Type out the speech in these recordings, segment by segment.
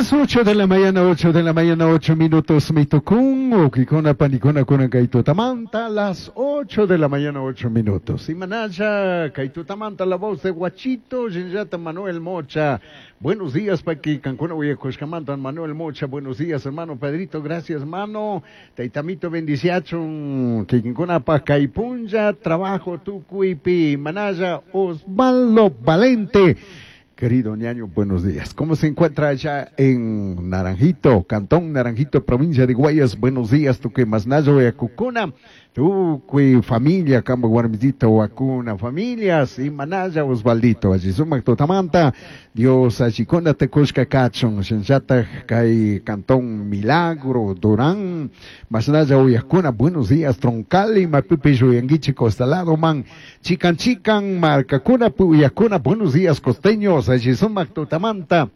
Las 8 de la mañana, 8 de la mañana, 8 minutos, mitucún, ukikuna, panikuna, kunan kay tutamanta, las 8 de la mañana, 8 minutos. Y manaya, kay tutamanta, la voz de Guachito, Yenyata Manuel Mocha. Buenos días, Paqui, Cancuna, Huayacoscamanta, Manuel Mocha. Buenos días, hermano Pedrito, gracias, hermano. Taitamito, bendiciachun, Kikinkuna, Pacaipunja, trabajo, Tucuipi, Manaya, Osvaldo Valente. Querido ñaño, buenos días. ¿Cómo se encuentra allá en Naranjito, Cantón Naranjito, provincia de Guayas? Buenos días, tu que masnayo Cucuna, tu que familia, Cambo Guarmitito, Huacuna, familias, y Manaya Osvaldito, allí sumac totamanta, Dios allí te cusca cachon, Shenchata, Kai Cantón Milagro, Durán, Masnaya Uyacuna, buenos días, Troncali, Mapipi, Yuyanguichi, Costalado, Man, Chican Chican, Marcacuna, Puyacuna, buenos días, costeños, allí sumac totamanta.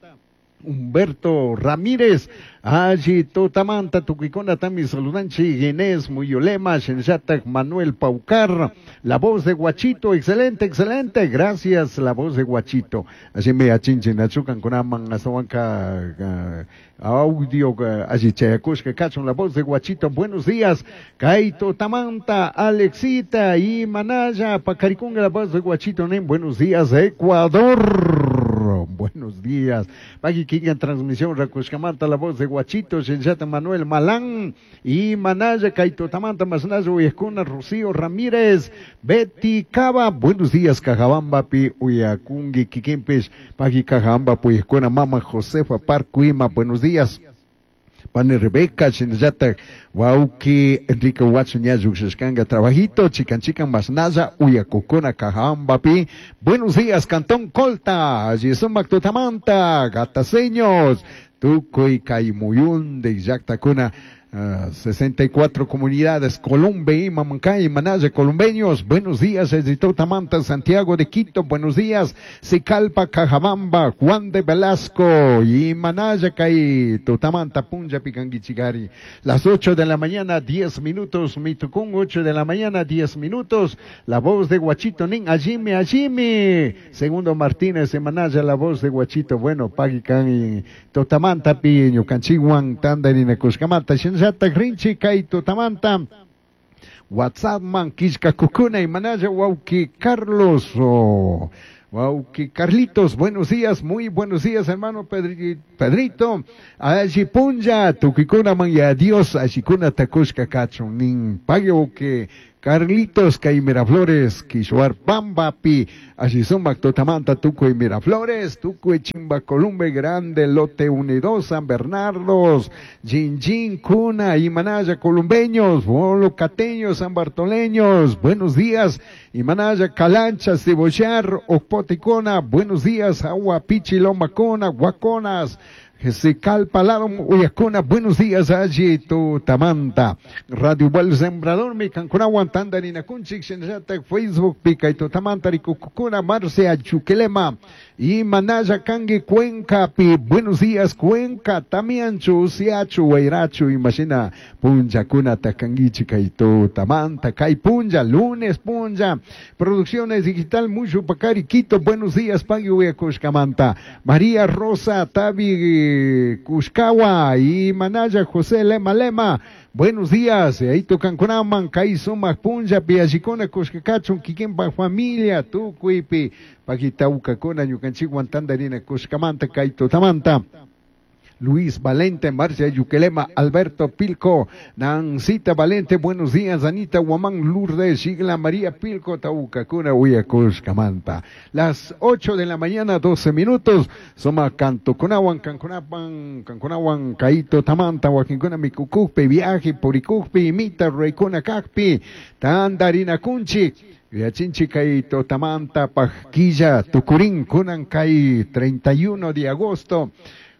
Humberto Ramírez, allí Totamanta, Tuquicona, Tami Saludanchi, Inés Muyolema, Shenyatak, Manuel Paucar, la voz de Guachito, excelente, excelente, gracias, la voz de Guachito. Así me achinchen, achucan con aman, azahuanca, audio, allí chayacushka, cachon, la voz de Guachito, buenos días, Kaito Tamanta, Alexita y Manaya, Pacaricunga, la voz de Guachito, nen, buenos días, Ecuador, buenos días, Pagui Kinga, transmisión, Racushcamanta, la voz de Guachito, Shenyata Manuel Malán, y Manaya, Kaito Tamanta, Masnayo, Uyescuna, Rocío Ramírez, Betty Cava, buenos días, Cajabamba, Pi, Uyacungui, Kikimpis, Pagui Cajabamba, Puyescuna, Mama Josefa, Parcuima, buenos días. Pane Rebeca, Shinayata, Wauki, Enrique Huacho, Ñayuxescanga, Trabajito, Chican Chican, Masnaya, Uyacocona, Cajabamba, Pi. Buenos días, Cantón Colta, Yesumac Totamanta, Gataseños, Tucuy, Caimuyún, de Yactacuna, 64 comunidades, Columbe, Mamancay, Manaya, columbeños, buenos días, Editor Tamanta, Santiago de Quito, buenos días, Sicalpa, Cajabamba, Juan de Velasco, y Manaya, Cay, Totamanta, Punja, Picanguichigari. Las 8 de la mañana, 10 minutos, Mitucún, 8 de la mañana, 10 minutos, la voz de Guachito, Nin, Allime, Allime, Segundo Martínez, de Manaya, la voz de Guachito, bueno, Pagican y Totamanta, Piño, Canchihuan, Tandarina, Cuscamata, Shinzata, Grinchi, Kai, Totamanta, WhatsApp, man, Quisca, Cucuna y Manaya, Wauki, Carlos, oh, Wauki, Carlitos, buenos días, muy buenos días, hermano Pedrito, Allí Punja, Tuquicuna, man, y adiós, Ashikuna, Tacushka, Cachon, Nin, Pague, que Carlitos, Kai Miraflores, Quishuar, Pamba, Pi, Ashizumba, Totamanta, Tuco y Miraflores, Tuco y Chimba, Columbe, Grande, Lote Unido, San Bernardos, Jinjin, Cuna, y Manaya, Columbeños, Bolo, Cateños, San Bartoleños, buenos días, y Manaya, Calancha, Cebollar, Ocpoticona, buenos días, Agua, Pichi, Lomacona, Guaconas, Jessical Palado, Uyacona, buenos días, allí tu Tamanta, Radio Buen Sembrador, mi Cancunahuan, Tandarina Kunchik, Shenjata, Facebook, Pica y tu Tamanta, Ricucucuna, Marcia, Chuquelema, y Manaya, Cangue, Cuenca, Pi, buenos días, Cuenca, Tamianchu, Siachu, Guairachu, Imagina, Punja, Cuna, Tacanguichica y tu Tamanta, Cay Punja, lunes Punja, Producciones Digital, Mucho Pacari, Quito, buenos días, Pagui, Uyacushcamanta, María Rosa, Tabi, Cuscawa y Manaya José Lema Lema, buenos días, ahí tocan Cunaman, Kaizuma, Punja, Piachicona, Cuscacachun, Kikimba, familia, Tucuipi, Paquitauca, Cona, Ñucanchiguan, Tandarina, Cuscamanta, Kaito, Tamanta. Luis Valente, Marcia Yuquelema, Alberto Pilco, Nancita Valente, buenos días, Anita Guamán, Lourdes, Sigla María Pilco, Taucacuna, Uyacuscamanta. Las 8 de la mañana, 12 minutos, Soma Cantoconahuan, Canconapan, Canconahuan, Caito, Tamanta, Huaquincuna, Micucujpe, Viaje, Puricujpe, Imita, Reicuna, Cacpi, Tandarina Cunchi, Yachinchi Caito, Tamanta, Pajquilla, Tucurín, Cunancay, 31 de agosto.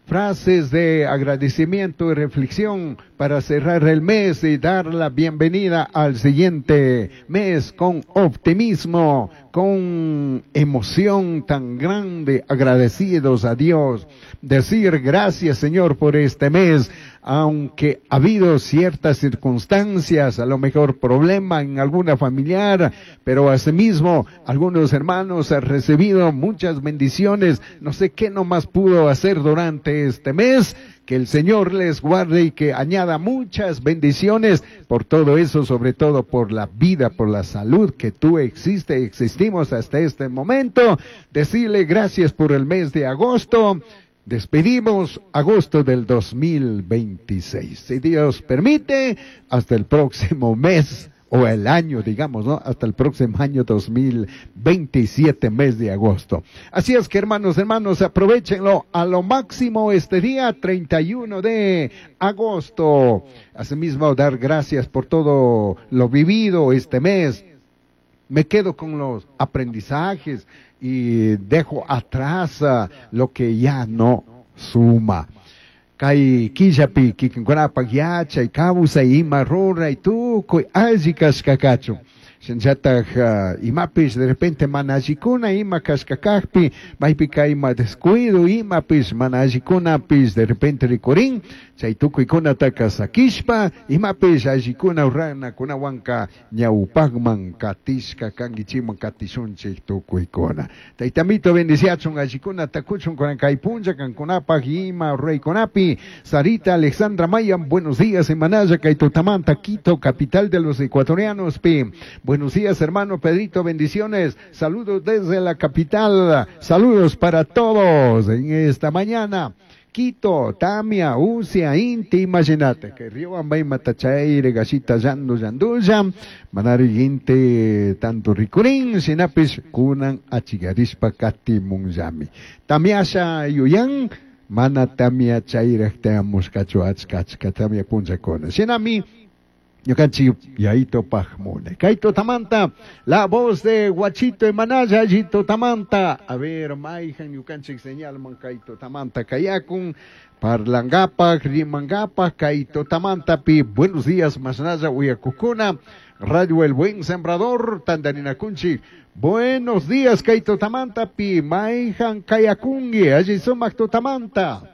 Frases de agradecimiento y reflexión para cerrar el mes y dar la bienvenida al siguiente mes con optimismo, con emoción tan grande, agradecidos a Dios. Decir gracias, Señor, por este mes. Aunque ha habido ciertas circunstancias, a lo mejor problema en alguna familiar, pero asimismo algunos hermanos han recibido muchas bendiciones. No sé qué nomás pudo hacer durante este mes. Que el Señor les guarde y que añada muchas bendiciones por todo eso, sobre todo por la vida, por la salud que tú existe, existimos hasta este momento. Decirle gracias por el mes de agosto. Despedimos agosto del 2026. Si Dios permite, hasta el próximo mes o el año, digamos, ¿no? Hasta el próximo año 2027, mes de agosto. Así es que, hermanos, hermanos, aprovéchenlo a lo máximo este día, 31 de agosto. Asimismo, dar gracias por todo lo vivido este mes. Me quedo con los aprendizajes y dejo atrás lo que ya no suma. Kay killapi kikinkunapak yachay kawsay ima ruray tukuy alli kashka kachun. Shinllataj imapish de repente mana allikuna ima kashka kajpi, maypika ima descuido imapish mana allikunapish de repente rikurin, chay tukuykunataka sakishpa, imapish allikuna ruranakunawanka ñawpakman katishka kankichikman katishunchik tukuykuna. Taytamito bendiciachun allikunata kuchun kunan kay punlla kankunapak ima ruraykunapi. Sarita Alexandra Maya, buenos días, Imanaya, kay tutamanta, Quito, capital de los ecuatorianos, pi. Buenos días, hermano Pedrito, bendiciones. Saludos desde la capital. Saludos para todos en esta mañana. Quito, Tamia, Usia, Inti, imagínate, que Río Ambay, Matachaire, Gashita, Yandu, Yanduya, Manari, Inti, tanto Ricurín, Sinapis, Kunan, Achigarispa, Kati, Munjami. Tamiasha, Yuyan, Mana, Tamia, Chaira, Teamos, Cacho, Achka, Tamia, Punchacona. Sinami, Ñukanchik yaito pajmune. Kaito tamanta, la voz de Guachito Emanaya, Yito tamanta. A ver, maijan ñukanchik señalman kaito tamanta kayakun, parlangapak, rimangapak, kaito tamanta pi. Buenos días, masnaya uyakukuna. Radio El Buen Sembrador, Tandarina Kunchi. Buenos días, kaito tamanta pi. Maijan kayakungi, allí sumak tamanta.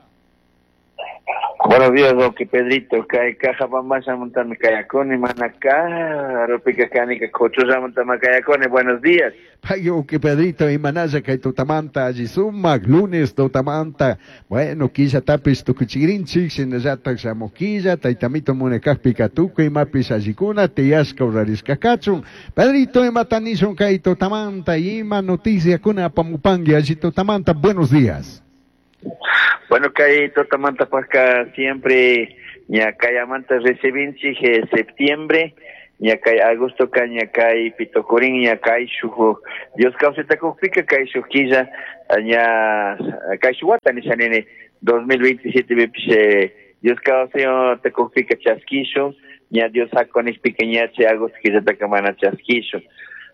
Buenos días, Roque Pedrito. Kay caja bambasha montame kayakoni, manacá, ropica canica, cochuza montame kayakoni. Buenos días. Payo, que Pedrito, y manaya, kay tutamanta, allí sumac, lunes tutamanta. Bueno, quilla tapis tukuchirinchik, sinayata xamoquilla, taitamito munekajpi katuku, y mapis allikuna, tiyashka urariskakachun. Pedrito, y matanishun kay tutamanta, y ima noticia kuna pamupangi, allí tutamanta. Buenos días. Bueno, kay tutamanta pasca siempre ña kayamanta recibinchik septiembre, ña kay agosto ka ña kay pitocurín, ña kay shuj Dios kawsayta kukpika kay shuj killa ña kay shuj wata nisha nini 2027 pipish Dios kawsayta kukpika chaskishun, ña Dios hakunikpika ña chay agosto killataka mana chaskishun,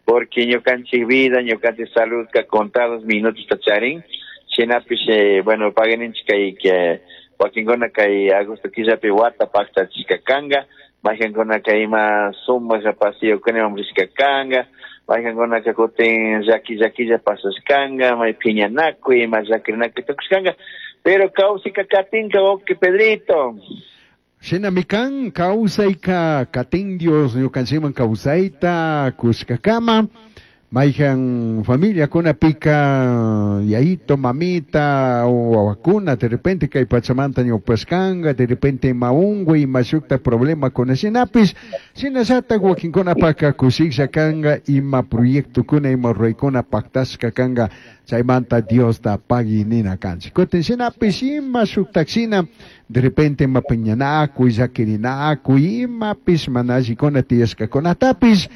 porque ñukanchik vida, ñukanchik salud ka contados minutos ta charin. Shinapish, bueno, paganinchik kay que wakinkuna kay agosto killapi wata paqtachishka kanga, mayqankuna kay ima sumaq paseo-kunaman rishka kanga, mayqankunaka kutin llaki llakilla pasashkanga, may phiñanakuy, ima llakirinakuy tukushkanga, pero kawsayka katinka, wawqi Pedrito. Shinamikan kawsayka katin Dios ñukanchikman kawsayta kushkakama. Maijan familia kuna pica yaito, mamita o wawakuna, de repente kay pachamanta ñawpashkanga, de repente maungui, mashukta problema con shinapis, shinallata wakinkuna paka kushiklla kanga, ima proyecto kuna, ima ruraykuna pactashka kanga, chaymanta Diosta pagui nina kanchik. Kutin shinapis ima shuktak shina, de repente ima piñanakuy, llakirinakuy, imapis mana allikuna tiyashkakunatapis,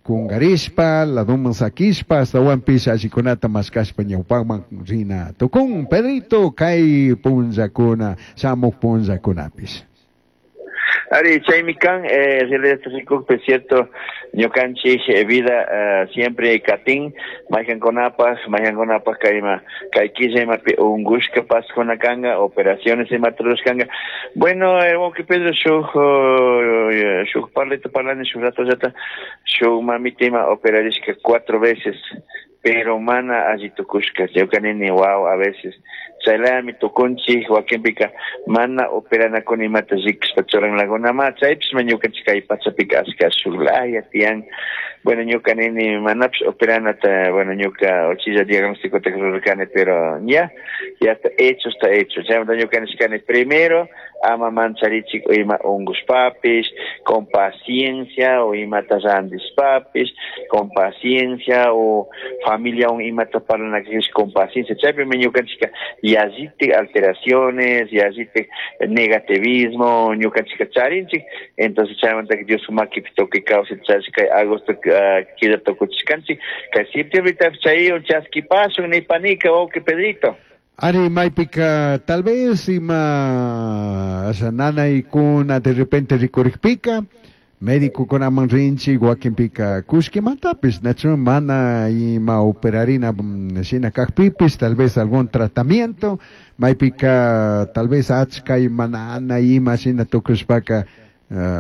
kungarishpa, laduman sakishpa, astawanpis allikunata maskashpa ñawpakman rina tukun. Pedrito, kay punllakuna, shamuq punllakunapis. Ari, chaymi kan, realidad rikukpi, cierto, ñukanchik vida siempre katin, mayqankunapaq, mayqankunapaq kayma, kay killa imapi unqushka pasquna kanga, operaciones imata rurashkanga. Bueno, wawqi Pedro, shuk shuk parlita parlani, shuk ratollata, shuk mamita ima operarishka 4 veces, pero mana alli tukushka. Ñuka nini, wow, a veces Chaylayami tukunchik, wakinpika mana operanakuna imata rikushpa churanlakunama, chaypishma ñukanchik kay pachapika ashka shuklaya tiyan. Bueno, ñuka nini manapish operanata, bueno, ñuka uchilla diagnosticota rurarkani, pero ya, ya está hecho, está hecho. Chaymanta ñuka nishkani primero, ama mancharichik ima ungushpapish, con paciencia, o imata randishpapish, con paciencia, o familia un imata parlanakish con paciencia. Chaypimi ñukanchika yallitik alteraciones, yallitik negativismo, ñukanchika charinchik. Entonces chaymanta Dios makipi tukuy kawsay charish kay agosto killa tukuchishkanchik, kay septiembre chay chaskipashun nipanika, wawqi Pedrito. Ari maypika tal vez ima nanaykuna de repente rikurikpika médicokunaman rinchik, wakinpika kullkimantapis, nachu mana ima operarina shina kakpipis, tal vez algún tratamiento, maypika tal vez achka ima nanay ima shina tukushpaka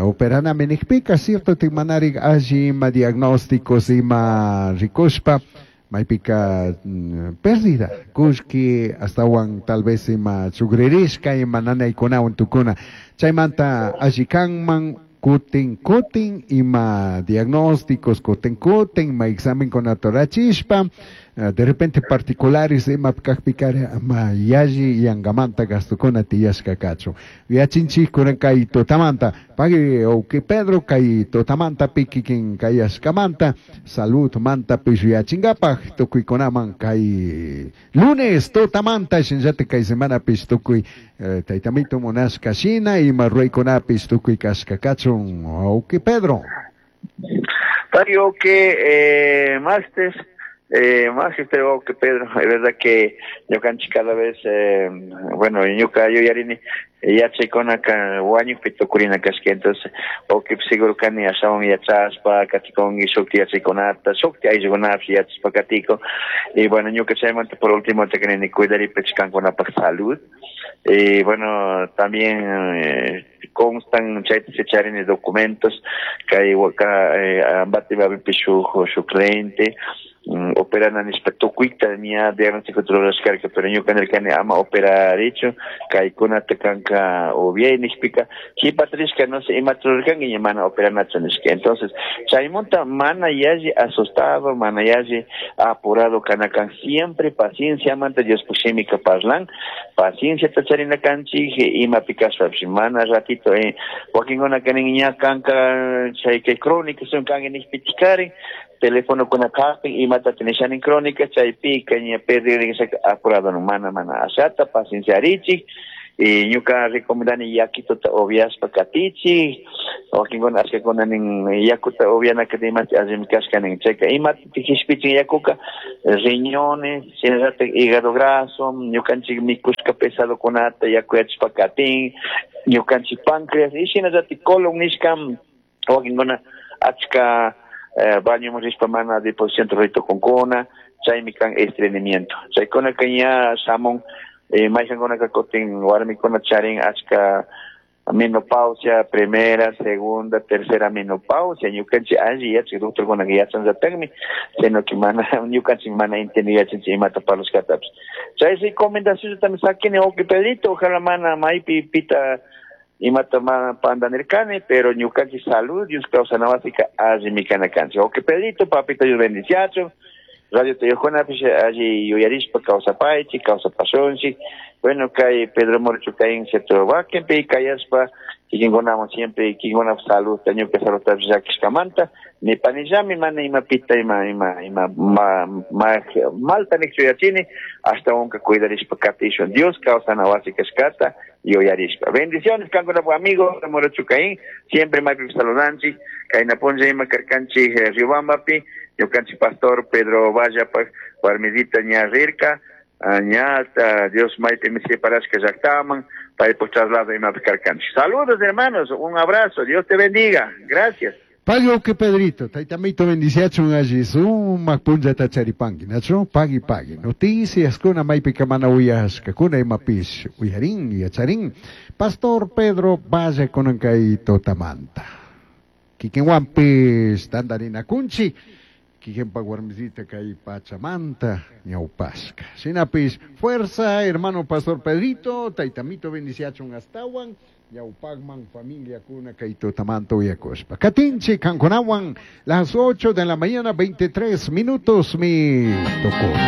operanami nikpika, cierto manari alli ima diagnósticos ima rikushpa, maypika pérdida kullki astawan tal vez ima chukririshka ima nanaykunawan tukuna, chaymanta alli kanman kutin kutin ima diagnósticos kutin kutin ima examenkunata rurachishpa, de repente particulares ima kakpikari ama yalli yangamanta gastukuna tiyashka kachun. Yachinchik kunan kay tutamanta, pagui wawqi Pedro kay tutamanta kikin kayashkamanta, salud manta pish yachinkapak tukuykunaman kay lunes tutamanta shinallatik kay semanapish tukuy taytamito munashka shina ima ruraykunapish tukuy kashka kachun, wawqi Pedro. Pagui wawqi, martes, magister wawqi Pedro, es verdad que ñukanchik cada vez, bueno, ñuka yuyarini yachaykunaka wañukpi tukurina kashka, entonces wawqi seguro kani ashawan yachashpa katikunki shukti yachaykunata, shukti ayllukunapish yachashpa katikun. Y bueno, ñuka chaymanta por último te kanini cuidaripich kankunapak salud. Y bueno, también constan chayta charini documentos kay waka Ambato babipi shuk shuk cliente operana nishpa tukuyta ña diagnóstico rurashkarka, pero ñuka nirkani ama operarichu kaykunata kanka ubiay nishpika kipata rishka no sé imata rurarkanki ña mana operanachu nishka. Entonces chaymunta mana yalli asustado, mana yalli apurado kana kan, siempre pacienciamanta Diospuk shimika parlan, pacienciata charina kanchik imapi kashpapish mana ratito, wakinkunaka nin ña kanka chay kay crónica son kanki nishpichikarin teléfono kuna kapin imata tinishanin crónica chaypika ña perdirin apurado no mana mana ashata pacienciarichik. Y ñuka recomendani yakituta upiashpa katichik, wakinkuna ashkakuna nin yakuta upianaka imati allimi kashka nin, chayka imata kishpichin yakuka riñones, shinallatak hígado graso, ñukanchik mikushka pesadokunata yakuyachishpa katin, ñukanchik páncreas y shinallatak colon nishka wakinkuna achka bañoman rishpa mana deposición ritukunkuna, chaymi kan estreñimiento. Chaykunaka ña shamun, mayqankunaka kutin warmikuna charin achka menopausia, primera, segunda, tercera menopausia, ñukanchik alli yachak doctorkunaka yachanllatakmi, sino que mana ñukanchik mana entendi yachanchik imata parlushkatapish. Chay recomendación también sakini wawqi Pedrito, ojalá mana maypi pita imata mana pandanirkani, pero ñukanchik salud Dios kawsana wasika allimi kana kanchik. Wawqi Pedrito, papito Dios bendiciachun, radio Teyojuna-pish alli yuyarishpa kawsapaychik, kawsapashunchik. Bueno, kay Pedro Moro Chucaín, cierto, wakinpi kayashpa, kikinkunaman siempre, kikinkunap salud, ñuka saludtapish llakishkamanta, nipanillami mana imapita ima, ima, ima, ma, ma, malta nikchu yachini, hasta unka cuidarishpa katishun. Dios kawsana wasi kashkata yuyarishpa. Bendiciones, kankunap amigo, Moro Chucaín, siempre maypi saludanchik, kayna punlla ima karkanchik, Riobambapi, ñukanchik pastor Pedro Vallapak, warmidita ña rirka, ñata Dios maypi mi separashka llaktaman, paypuk traslado imapi karkanchik. Saludos hermanos, un abrazo, Dios te bendiga, gracias. Pagui wawqi Pedrito, taytamito bendiciachun alli sumak punllata charipanki, nachu? Pagui, pagui. Noticias kuna maypika mana uyashkakuna imapish uyarin, yacharin. Pastor Pedro Valle kunan kay tutamanta. Kikinwanpish tantarinakunchik, Kikinpak warmisita kay pachamanta ñawpashka. Shinapish fuerza hermano pastor Pedrito, taytamito bendiciachun astawan ñawpakman familiakuna kay tutamanta uyakushpa. Katinchik kankunawan las 8 de la mañana 23 minutos mi tocó.